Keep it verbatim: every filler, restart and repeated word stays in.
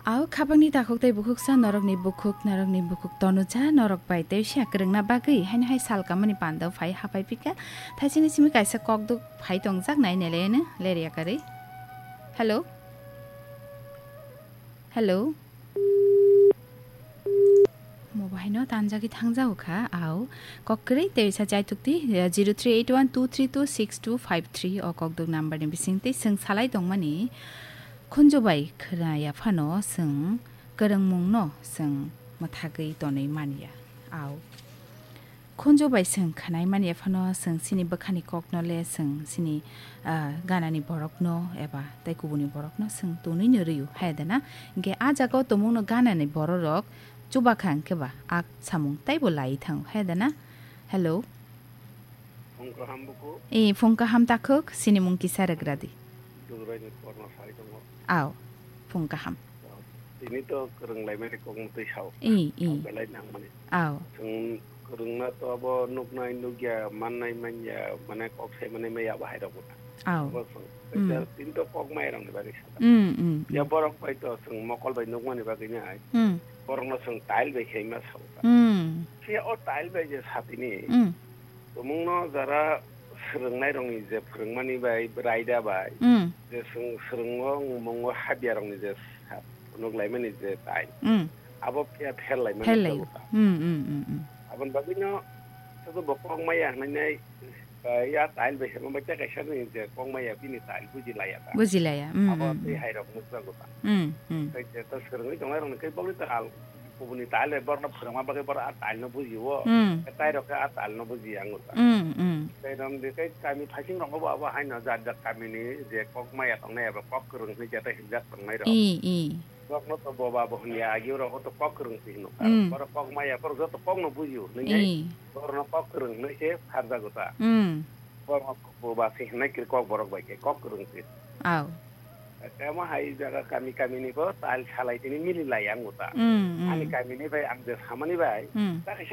Au khabangni takhuk tei bukhuksa norokni bukhuk, norokni bukhuk tonuja, norok bai tei siya kwrwngna bagwi haino hai sal kamani pando phai hapai phika. Thaisini simi kaisa kokduk phai tongjak nai neleyeno, leri yakarwi. Hello? Hello? Mo bahaino tanjagwi thangjago kha, au. Kok kwrwi tei sa chaitukti, eh, zero three eight one two three two six two five three o kokduk number ni bisingtwi swng salai tongmani. Khunju bai khwna ya phano chwng kwrwngmungno chwng mwthagwi tonwi man ya. Au. Khunju bai chwng khwnai man ya phano chwng chini bwkhani kokno le chwng chini, ah, ganani borokno eba tei kubuni borokno chwng tonwi no rw-o, hai da na? Hinkhe a jaga o tongmungno ganani bororok chuba kha hinkhe ba a samung teibo laiwi thango, hai da na? Hello. Phung kaham buku. Ee, phung kaham takhuk, sini mung kisa rwgradi. Dugraini korno sai tongo. Aw, phung kaham. Tini to kwrwng laimani kokno twi sao. Ee, ee. Belai nangmani. Aw. Chwng kwrwngna to abo nuknai nukya, mannai manya, mane kok sai mani maya bahai rok buta. Aw. Abo chwng. Mm. Tini to kok mai rokni bagwi sa. Mm, mm, mm. Ya borok bai to chwng mokol bai nukmani bagwi nai. Mm. Borokno chwng tile bai khe ma sao ta. Mm. Phiya o tile bai je satini. Mm. Tumungno jara swrwngnairokni je phwrwngmani bai, raida bai, Mm. je swng-, swrwngo, wngmungo, habyarokni je sa-, phunuk laimani je tail, Mm. abo phiya pher laimani Pher lai. jago ta. Mm, mm, mm, mm. Aboni bagwino sobo bo kok maya hwnwi nai, eh, ya tail bai semo bai tei kaisa ni je kok maya bini tail buji laya ta. Buji laya, mm, Abo mm, tei mm. hairok nukjago ta. Mm, mm. Tei je to swrwngwi tongnairokni khe bokni ta al, kubuni tail bai borokno phwrwngma bagwi borok a tailno bujio. Mm. Tei tairok khe a tailno bujiya wngkha. Mm, mm. Tei romdi tei kami phaisingrokno bo abo haino jat jat kamini je kok maya tongnai abo kok kwrwng hinwi jata hinjak tongnai rok. I, i. Borokno to boba bo hwnwi ya, agi borok to kok kwrwng se hino. Mm. Borok kok maya borok joto kokno bujio hinwi I. borokno kok kwrwng hinwi se pharjago ta. Mm. Borok boba se hinwi khe kok borok bai khe kok kwrwng se. Aw. Temo hai jaga kami kami ni bo tal salai tini mili lai ang uta. Mm, mm. Ani kami ni bai ang je samani bai. Mm. Ta kaisa